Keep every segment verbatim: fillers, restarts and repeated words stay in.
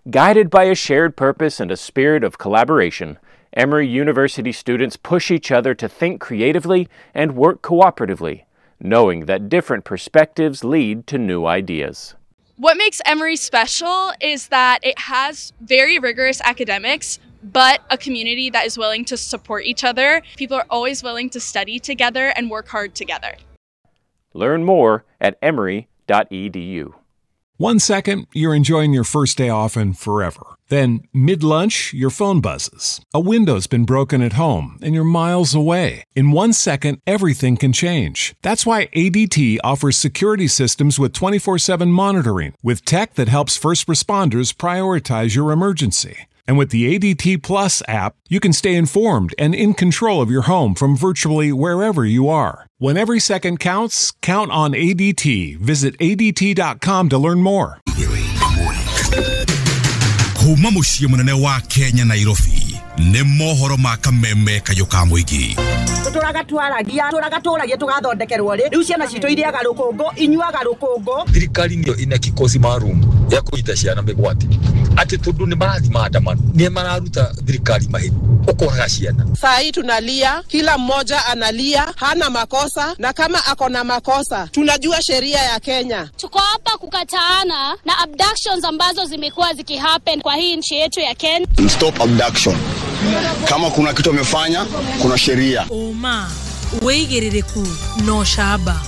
Guided by a shared purpose and a spirit of collaboration, Emory University students push each other to think creatively and work cooperatively, knowing that different perspectives lead to new ideas. What makes Emory special is that it has very rigorous academics, but a community that is willing to support each other. People are always willing to study together and work hard together. Learn more at emory dot e d u. One second, you're enjoying your first day off and forever. Then, mid-lunch, your phone buzzes. A window's been broken at home, and you're miles away. In one second, everything can change. That's why A D T offers security systems with twenty-four seven monitoring, with tech that helps first responders prioritize your emergency. And with the A D T Plus app, you can stay informed and in control of your home from virtually wherever you are. When every second counts, count on A D T. Visit A D T dot com to learn more. Kuma muciĩ mũnene wa Kenya Nairobi nĩ mohoro ma kameme kayũ ka mũingĩ. Tũtũraga twaragia, tũraga tũragia tũgathondekerwo rĩ. Rĩu ciana citũ irĩaga rũkũngũ, inyuaga rũkũngũ. Thirikari nĩyo ina kikosi maalum ya kũnyita ciana mĩgwate. Atĩ tondũ nĩ marathiĩ maandamano, nĩ mararuta thirikari mahĩtia, ũkoraga ciana. Saa hii tunalia, kila mmoja analia, hana makosa, na kama ako na makosa, tunajua sheria ya Kenya. Tuko hapa kukataana na abductions ambazo zimekuwa zikihappen kwa hii nchi yetu ya Kenya. Stop abduction. Kama kuna kitu amefanya, kuna sheria. Oma, wĩigĩrĩrĩku no shaba.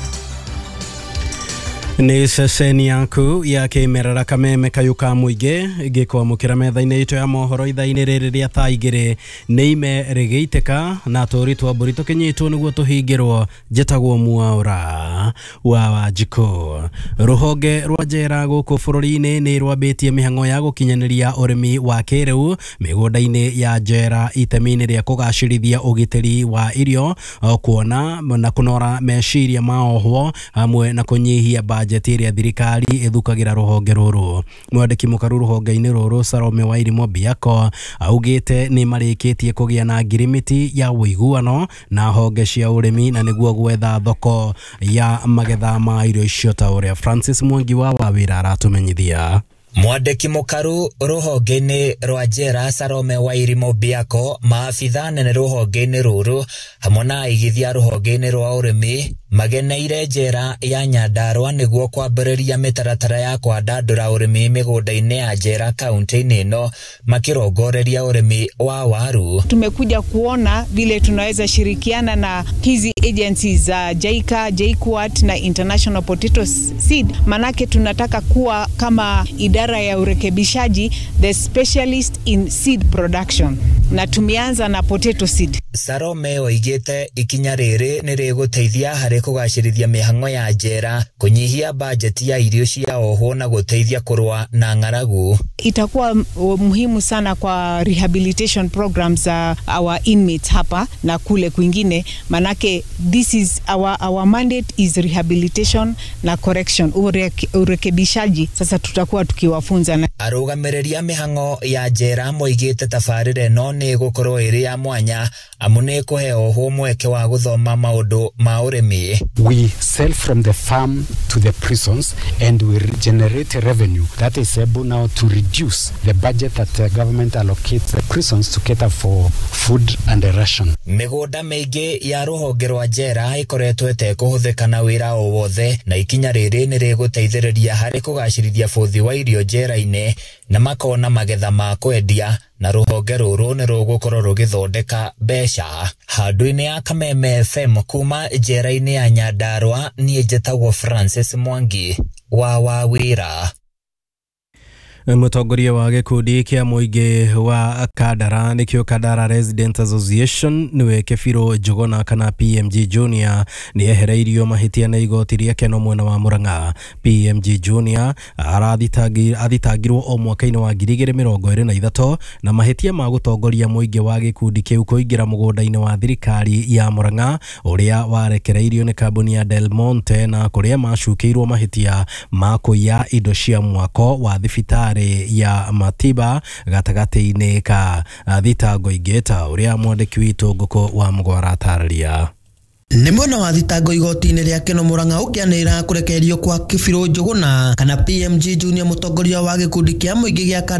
Nĩ ceceni yaku ya kĩmerera kameme kayũ ka mũingĩ gĩkwamũkĩra metha-inĩ itũ ya mohoro ithaa-inĩ rĩrĩ rĩa thaa igĩrĩ nĩ ime rĩgĩitĩka na tũri twa mbũri tũkĩnyitwo nĩguo tũhingĩrwo. Njĩtagwo Mwaũra wa Wanjikũ. Rũhonge rwa njera gũkũ bũrũri-inĩ nĩ rwambĩtie mĩhang'o ya gũkinyanĩria ũrĩmi wa kĩrĩu mĩgũnda-inĩ ya njera itemi-inĩ rĩa kũgacĩrithia ũgitĩri wa irio, kuona na kũnora meciria ma ohwo hamwe na kũnyihia bajeti ĩrĩa thirikari ĩthukagĩra rũhonge rũrũ. Mwandĩki mũkaru rũhonge-inĩ rũrũ Salome Wairimu Biako augĩte nĩ marĩkĩtie kũgĩa na ngirimiti ya ũiguano na honge cia ũrĩmi na nĩguo gwetha thoko ya magetha ma irio icio ta ũrĩa Francis Mwangi wa Wawĩra aratũmenyithia. Mwandĩki mũkaru rũhonge-inĩ rwa njera Salome Wairimu Biako, maabitha nene rũhonge-inĩ rũrũ hamwe na aigithia rũhonge-inĩ rwa ũrĩmi mageneire njera ya Nyandarua nĩguo kwambĩrĩria mĩtaratara ya kwandandũra ũrĩmi mĩgũnda-inĩ ya njera kaunti-inĩ ĩno makĩrongoreria ũrĩmi wa waru. Tumekuja kuona vile tunaweza shirikiana na hizi agencies za JICA, JKUAT na International Potato Seed, manake tunataka kuwa kama idara ya urekebishaji, the specialist in seed production, na tumeanza na potato seed. Salome oigĩte ikinya rĩrĩ nĩ rĩgũteithia harĩ kũgacĩrithia mĩhang'o ya njera, kũnyihia bajeti ya irio cia ohwo na gũteithia kũrũa na ng'aragu. Itakuwa muhimu sana kwa rehabilitation programs za uh, our inmates hapa na kule kwingine, manake this is our, our mandate is rehabilitation na correction, ureke, urekebishaji. Sasa tutakuwa tukiwafunza na arũgamĩrĩri a mĩhang'o ya njera moigĩte tabarĩra ĩno nĩ ĩgũkorwo ĩrĩ ya mwanya amu nĩ ĩkũhe ohwo mweke wa gũthoma maũndũ ma ũrĩmi. We sell from the farm to the prisons and we generate revenue that is able now to reduce the budget that the government allocates the prisons to cater for food and a ration. Mĩgũnda mĩingĩ ya rũhonge rwa njera ĩkoretwo ĩtekũhũthĩka na wĩra o wothe na ikinya rĩrĩ nĩ rĩgũteithĩrĩria harĩ kũgacĩrithia bũthi wa irio njera-inĩ na makona magetha ma kwendia na rũhonge rũrũ nĩ rũgũkorwo rũgĩthondeka mbeca. Handũ-inĩ ya Kameme F M kuma njera-inĩ ya Nyandarua, niĩ njĩtagwo Francis Mwangi wa Wawĩra. Mũtongoria wa gĩkundi kĩa mũingĩ wa Kandara nĩkĩo Kandara Resident Association nĩwe Kebirũ Njuguna kana P M G Junior nĩ ehereirio mahĩtia nĩ igoti rĩa Keno mwena wa Murang'a. P M G Junior athitangirwo o mwaka-inĩ wa ngiri igĩrĩ mĩrongo ĩrĩ na ithatũ na mahĩtia ma gũtongoria mũingĩ wa gĩkundi kĩu kũingĩra mũgũnda-inĩ wa thirikari ya Murang'a ũrĩa warekereirio nĩ kambuni ya Del Monte na kũrĩa macukĩirwo mahĩtia ma kũiya indo cia mwako wa thibitarĩ ya Matiba gatagatĩ-inĩ ka thitango ingĩ ta ũrĩa mwandĩki witũ Ngũkũ wa Mũgwara atarĩria. Nĩ mwena wa thitango igoti-inĩ rĩa Keno Murang'a ũkĩanĩrĩra kũrekererio kwa Kebirũ Njuguna kana P M G Junior mũtongoria wa gĩkundi kĩa mũingĩ gĩa Kandara